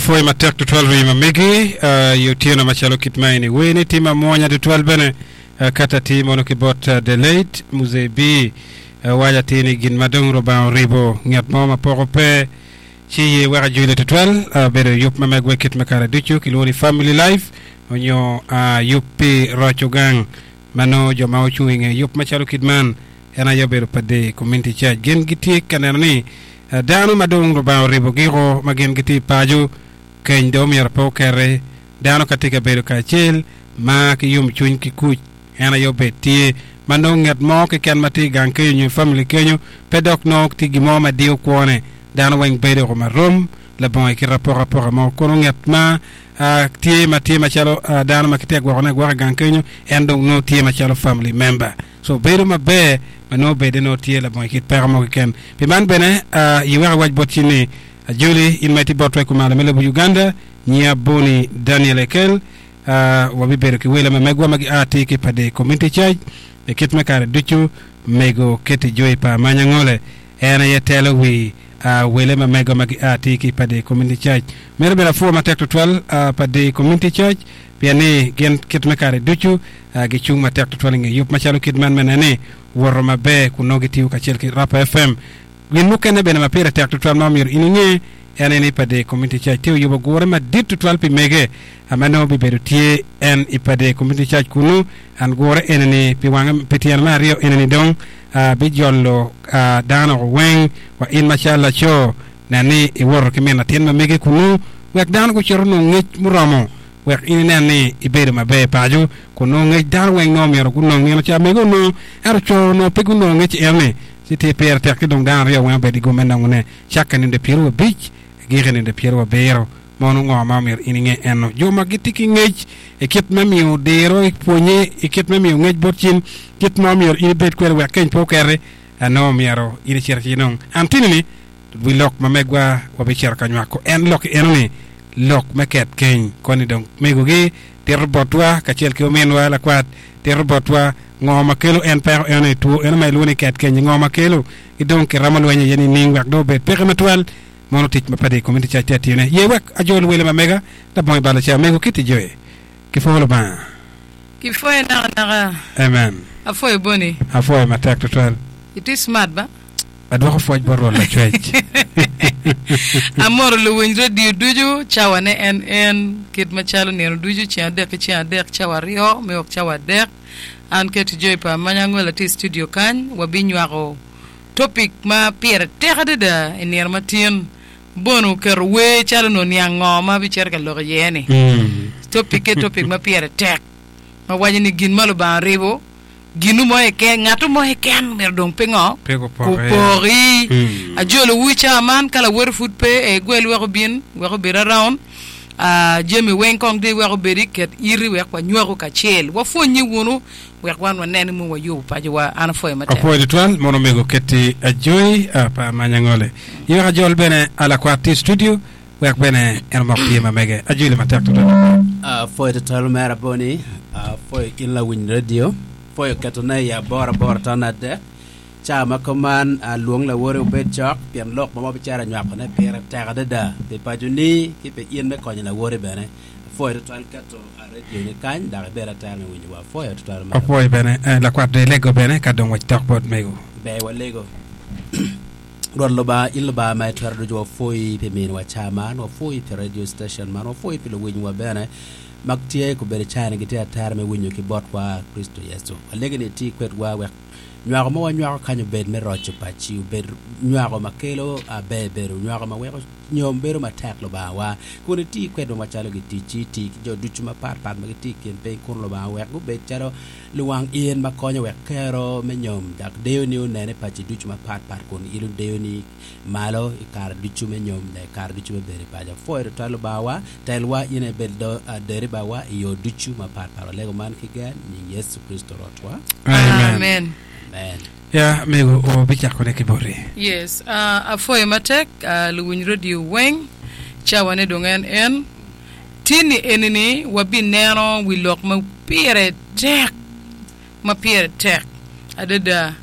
Apwoyo matek tutwal rii ma megi i otyeno macalo kit ma eni. Wer ni tye mamwonya tutwal bene kata atir mono ki bot The Late Muzee B. Waco atir ni gin ma dong Rubanga oribo nget mo ma poko pe ci ye wek ajwile tutwal bedo yub ma megwa i kit me kare ducu kilwongo ni Family Life onyo yub pi roco gang ma nongo jo ma ocung i nge yub macalo kit man en aye obedo pa The Community Church. Gin gitye ka neno ni dano ma dong Lubanga oribo giko ma gin gitye i paco, keny dong omyero pe oketi. Dano ka tye ka bedo kacel, mar ki yomcwiny ki kuc en aye obed tye. Ma nongo nget mo keken ma tye i gang kenyo nyo i famili kenyo pe dok nongo tye gin mo ma diyo kwone. Dano weng bedo woko marom labongo i kit apokapoka mo. Kono nget ma tye ma tye macalo dano ma kitye ka gwokone agwoka i gang kenyo en dong nongo tye macalo family member. So bedo maber ma nongo bede nongo tye labongo i kit peko mo keken. Pi man bene, ye wek awac bot cin ni, Ajoli, in ma itye botwa i kumalo me lobo Uganda, nyiya Boni Daniel Ekel, wabibedo ki wele ma megwa ma gia atir ki Padee Community Church i kit me kare ducu. Mego Ketty Joy pa Amanya Ngole en aye telo wi wele ma megwa ma gia atir ki Padee Community Church. Meno bene apwo matek tutwal Padee Community Church pien ni gin kit me kare ducu gicung matek tutwal i nge yub macalo kit man me neno ni woto maber kun nongo gitiyo kacel ki Rapa FM. Gin mukene bene ma pire tek tutwal ma omyero in inge en aye ni Padee Community Church tye oyubo gure madit tutwal pi mege ma nongo bibedo tye en i Padee Community Church kunu. An gure enini pi wange pi tyene me aryo enini dong bijolo dano weng wa in macalo laco nen ni iwoto ki min latin ma mege kunu wek dano gucit onong ngec muromo wek in inen ni ibedo maber paco, kun nongo ngec dano weng nongo myero gunong nino ca mege onongo, ento co onongo pe gunongo ngec eno-ni, ci tye pire tek ki dong dano aryo weng obed i gum me nongone cakke nino 50 giki nino 70. Mono ngo ma omyero in inge eno? Jo ma gitye ki ngec i kit me miyo diro i pwonye, i kit me miyo ngec bot cin, kit ma omyero in ibed kwede wek keny pe oketi, nongo myero in icit ci inong. Antini-ni, Wi lok ma megwa wabicito ka nywako en lok eno-ni, lok me ket keny. Koni dong megogi tito botwa kacel ki ominwa lakwat tito botwa ngo ma kelo en peko eno-ni, two eno ma ilwongo ni ket keny-nyi ngo ma kelo, ki dong kiromo lweny iye nining wek dong obed peke matwal. Mono tic ma padi i kominiti cac tye atiyone. Ye wek ajol wele ma mega labongo i balo ca omego Kitty Joy. Kipwoyo Lubanga. Kipwoye nakanaka. Amen. Apwoyo boni. Apwoyo matek tutwal. Itye smart ba? Adwoko pwoc bot Rwot Lacwec. Amoro luwiny redio ducu, cawane en en, kit macalo nino ducu, ceng adek ki ceng adek, cawa aryo me ok cawa adek. An Ketty Joy pa Amanya Angwel atye i studio kany, wabinywako topic ma pire tek adada i nino matin. Bono oketo wer calo onongo niang ngo ma abicito ka lok iye ni. Topic-ke topic ma pire tek ma waco ni gin ma Lubanga oribo Ginu mo keken, ngatu mo keken myero dong pe ngo? Pe gupoki. Kupoki. Ajolowu i cawa man, ka lawoti pud pe, ee gwel wek obin, wek obed around. Ah, jami weng kong dong iwek obedi, ket iti wek wanywaku kacel. Wapwonnye wunu wek wan wanen ni mung wayubo pacowa. An apwoyo matek. Apwoyo tutwal mono omego Ketty Ajoy pa Amanyangole. Ywek ajol bene a lakwat tye i studio wek bene en omok tye ma mege. Ajoli matek tutwal. Apwoyo tutwal omera Boni, apwoyo in lawiny radio, apwoyo ketone i aboro aboro ton adek. Cawa ma kuman alwong lawoti wubed cok pien lok ma wabicito anywakone pire tek adada pi paconi ki pi in me konyo lawoti bene. Apwoyo tutwal keto radio ni kany dok ibed atera me winyowa. Apwoyo tutwal omera. Apwoyo bene lakwat dong ilego bene ka dong wactok bot mego. Ber walego. Rwot Lubanga, in Lubanga ma itwero ducu, wapwoyi pi miniwa ca man, wapwoyi pi radio station man, wapwoyi pi luwinywa bene ma tye kobedo cani gitye atera me winyo ki botwa Kricito Yecu. Walegi ni iti kwedwa wek nywako ma wanywako kany obed me roco paci, obed nywako ma kelo aber bedo, nywako ma weko nyom bedo matek Lubangawa. Kun iti kwedwa macalo giticci, iti ki jo ducu mapatpat ma gitye i kin piny kun Lubanga wek gubed calo Luwang in ma konyo wek kero me nyom dok deyoni onen i paci ducu mapat pat kun ilo deyoni malo i kare ducu me nyom dok i kare ducu me bedo i paco. Apwoyo tutwal Lubangawa, telwa in aye ibed deribawa i yo ducu mapat pat. Walego man ki gen i nying Yecu Kricito Rwotwa. Amen. Amen. Ya mego obicakone ki boti. Yes, uh, apwoyo matek uh, luwiny radio weng. Cawa ne dong en en. Tin-ni eni-ni wabineno wi lok ma pire tek, ma pire tek adada.